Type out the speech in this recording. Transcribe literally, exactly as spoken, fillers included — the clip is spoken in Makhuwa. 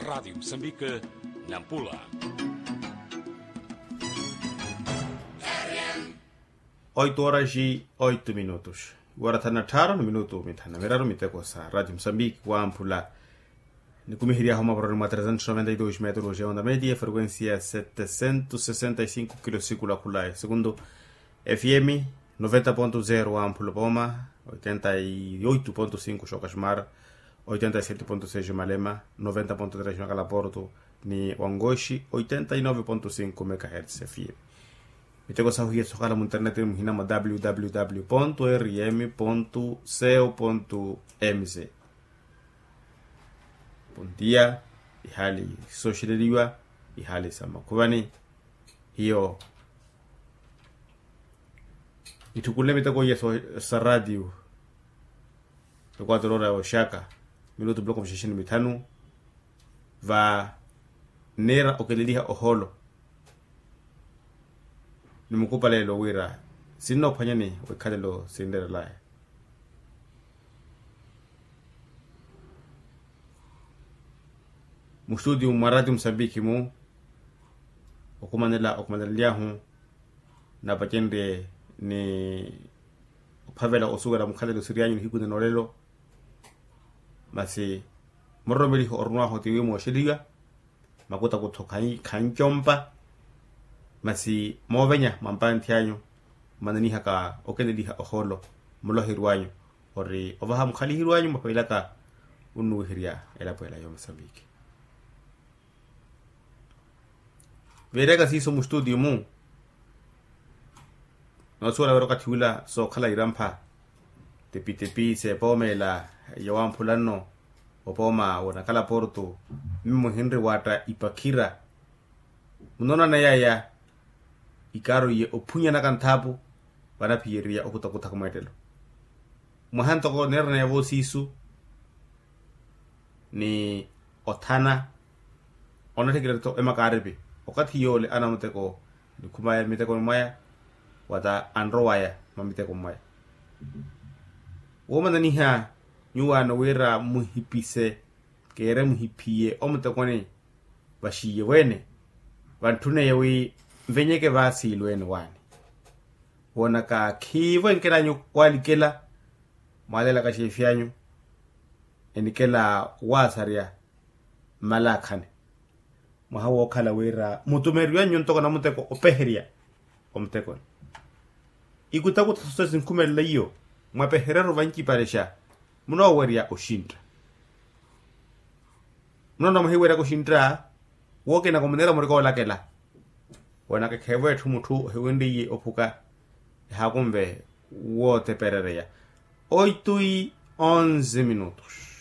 Radiyo musambike, nampula. Oito horas e oito minutos. Iwara thanu na tthaaru ni minutu mithanu na miraru miteko sa radiyo musambike wamphula. Nikumiheryahu maporoni mwa trezentos noventa e dos metros ya onda media frequencia setecentos sesenta e cinco kilosiku lakhula e segundu. F M noventa ponto zero wamphula pooma, oitenta e oito ponto cinco xokasmar, oitenta e sete ponto seis malema, noventa ponto tres makalaporto, ni wangoxi oitenta e nove ponto cinco megahertz F M. Miteko sahu hiya sokhala mu internet muhina mwa www ponto rm ponto co ponto mz. Pontiya, ihali sooxeleliwa, ihali sa makhuvani. Hiyo itthukule miteko iya sa radiyo. Ekwatoroora ya oxaka minutu bloku mixexe ni mithanu. Va nniira okeleliha ohoolo ni mukupalelo wira sinnoophwanyani wikhalelo sinreerelaya. Mustutiyu mwa rati musambiki mu okumanela okumanelelyahu napacenrye ni ophavela osuwela mukhalelo siryanyu nihiku ninoolelo. Masi muroromeliho orunwaho tiwi mooxeliwa makutakutho khancompa. Masi moovenya mwa mpanthi anyu mmananihaka okeleliha ohoolo muloheri wanyu ori ovaha mukhaliheri wanyu mwapailaka. Unnuwiherya elapo ela yomusambiki. Veereyaka siiso mustutiyu mu noosuwela wira okathi wila sookhala irampha. Tepitepi seepooma ela yowamphula nno opooma wonakhala porto. Mimi muhinri waatta ipakhira munoonana yaya ikaaro iye ophunyanaka nthaapu vanaphiyererya okutakuthaka mweettelo. Mwaha ntoko neerana yavo siisu ni othana onatthikira tho emakaaripi okathi yoole anamuteko nikhumaya mmitekoni mwaya wata anrowaya mwa mitekoni mwaya. Woomananiha nyuwaano wira muhipise keere muhiphiye omutekoni vaxiiye weene vantthuneye wi nvenyeke vaasiilweene waani. Woonaka khiivo enkelanyu walikela mwaalelaka xeefi anyu enikela waasarya mmalaakhani. Mwaha wookhala wira mutumeriwanyu ntoko namuteko opeherya omutekoni ikutakutha sosa sinkhumelela iyo mwapehereru vancipalexa munoowerya oxintta. Munoona muhiwerya kuxintta wookinaka omuneera murikoolakela. Woonaka ekheevo etthu mutthu ohiwenriye ophuka ehaakunve wooteperereya. Oito e onze minutos.